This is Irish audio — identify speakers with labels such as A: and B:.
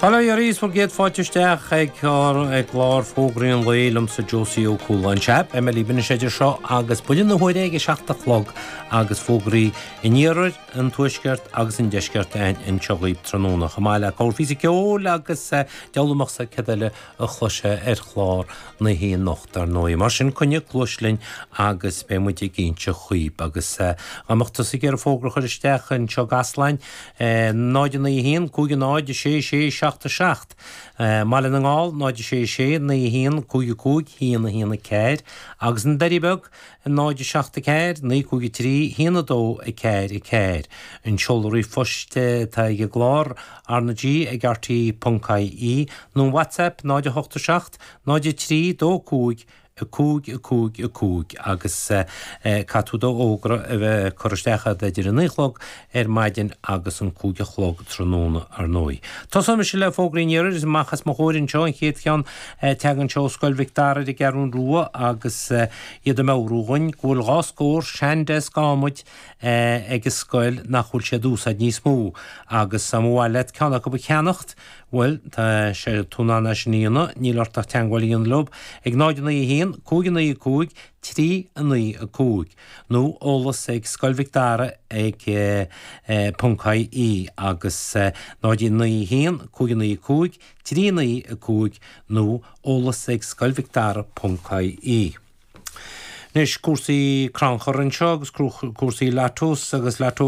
A: Bail ó Dhia oraibh is bhur gcéad fáilte isteach ag ár gclár Fógraí an Lae liomsa Josie Ó Cualáin. Sea, beidh mé libh anois idir seo agus buille na huaire ag a 7 a chlog agus fógraí an iarthair, an tuaisceart agus an deisceart anseo dhaoibh tráthnóna, chomh maith le corrphíosa ceoil agus deabhal a mbeadh céard eile a chloisfeá ar chlár na hoíche anocht, ar ndóigh. Mar sin, coinnigh cluais linn agus beidh muid ag inse chugaibh. Agus dá mbeadh tusa ag iarraidh fógra a chur isteach anseo i gCaisleáin, 0 9 1 5 0 6 6 7 7, mBaile na nGall, 0 6 6 9 1 5 5 1 1 4, agus an Doire Beag, 0 7 4 9 5 3 1 2 4 4. An seoladh ríomhphoist atá ag an gclár, RnaG ag rte.ie, nó an WhatsApp 0 8 7 0 3 2 5 5 5 5 agus caithfidh tú do fhógra a bheith ag cur isteach agat idir a naoi a chlog ar maidin agus an 5 a chlog tráthnóna ar ndóigh. Tosóidh mise le fógraí an iarthair is amach os mo chomhair anseo an chéad cheann tagann sé ó Scoil Mhic Dara ar an gCeathrú Rua agus iad ag meabhrú dhuinn go bhfuil dhá scór seandeasc adhmaid ag an scoil nach bhfuil siad úsáid níos mó agus dá mba mhaith leat ceann acu a cheannacht, bhuel, tá sé, tú in ann é sin a dhéanamh, níl ort ach teagmháil a dhéanamh leo ag 0 9 1 5 9 5 3 9 5 nó eolas ag Scoil Mhic Dara ag ponc ie agus 0 9 1 5 9 5 3 9 5 nó eolas ag scoilmhicdara ponc ie. Anois, cúrsaí crannchur anseo agus cúrsaí lottos agus lotto.